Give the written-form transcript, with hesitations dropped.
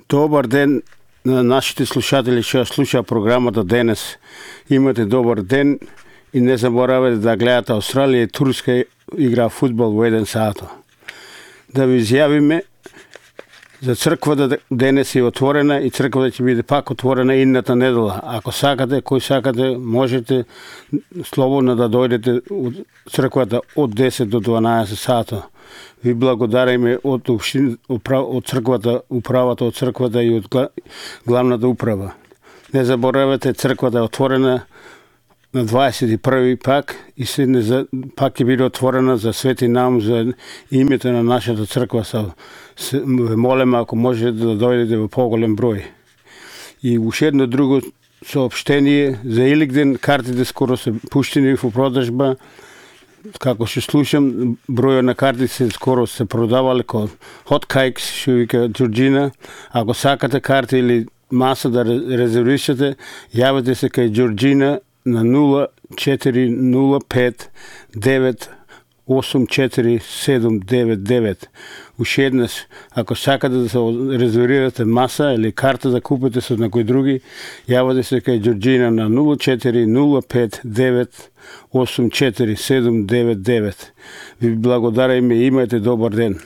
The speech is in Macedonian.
Добар ден на нашите слушатели што слушаа програмата денес. Имате добар ден и не заборавате да гледате Австралија и Турска игра фудбал во 1 сат. Да ви изјавиме за црквата денес е отворена и црквата ќе биде пак отворена идната недела. Ако сакате, кој сакате, можете слободно да дојдете од црквата од 10 до 12 сата. Ви благодариме од црквата, управата од црквата и од главната управа. Не заборавате, црквата е отворена на 21 пак и пак ќе биде отворена за свети нам, за името на нашата црква. Молиме ако можете да дојдете во поголем број. И уште едно друго соопштение за Иликден, картите скоро се пуштени во продажба. Како што слушам, бројот на картите скоро се продавале како hot cakes, што вика Џорџина. Ако сакате карти или маса да резервирате, јавете се кај Џорџина на 0405 984 Уште еднаш, ако сакате да се резервирате маса или карта да купите со некој други, јавете се кај Џорџина на 0405 984 Ви благодариме и имајте добар ден.